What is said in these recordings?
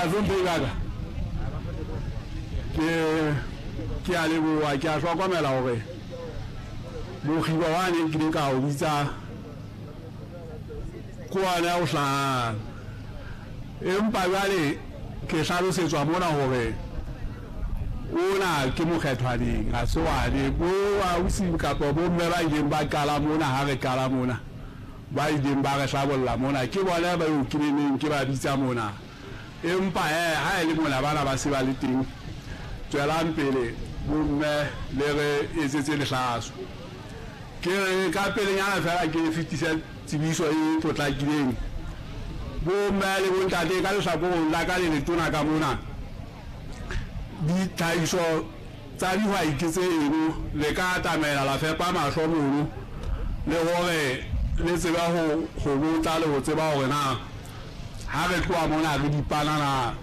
Bahlomphehi ba ka, ke a leboha, ke a hlokomela hore mokgiba wa neng ke ile ka o bitsa ke ona o hlahang, empa jwale ke hlalosetswa mona hore ona ke mokgethwaneng, ha se wane bo ausi kapa bomme ba ileng ba qala mona. Ha re qala mona, ba ileng ba re hlabolla mona ke bona ba eo ke neng ke ba bitsa mona, empa ha e le mona bana ba se ba le teng. Tswelang pele bomme le re etsetse lehlaso. Ke re ka pelenyana fela ke fetise tsebiso e potlakileng. Bomme le bontate, ka lehlakoreng la ka le letona ka mona, ditlhahiso tsa dihwai ke tse eno, le ka atamela la fepa mahlo mono, le hore le tsebe ho botsa le ho tseba hore na ha re tloha mona re dipanana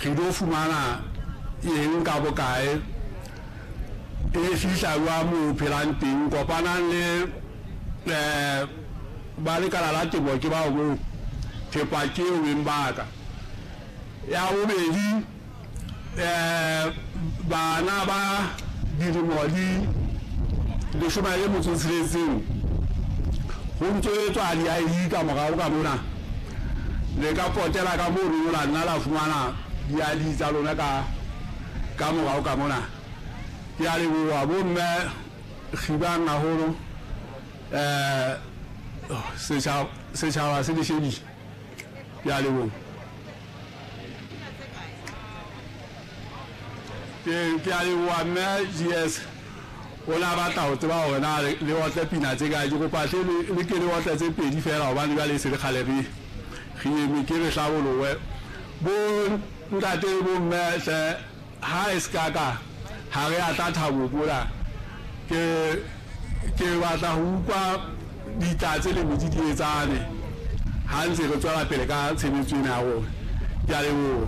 re tlo fumana eng ka bokae, e fihla jwang moo o phelang teng. Kopanang le ba lekala la temo, ke bao moo, thepa ke eo beng ba ka. Ya bobedi, bana ba dilemo di 16 ho ntso etswa di-ID ka morao ka mona, le ka potela ka mono la nna la fumana di-ID tsa lona ka morao ka mona. Ke a leboha bomme, kgibang haholo, setjhaba se le shebile. Ke a leboha. Ke a leboha mme GS, o na batla ho tseba hore na le otle pina tse kae. Ke kopa hle le ke le otle tse pedi fela, hobane jwale e se le kgale re eme, ke re hlabolowe. Bo ntate le bomme hle, ha e se ka ka ha re a tla thabo mona, ke batla ho utlwa ditlatse le metsi di etsane ha ntse re tswela pele ka tshebetso ena ya rona. Ke a leboha.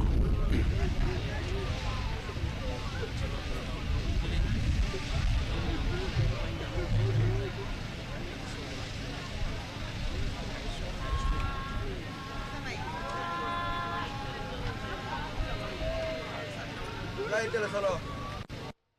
Kae ke lehlolo?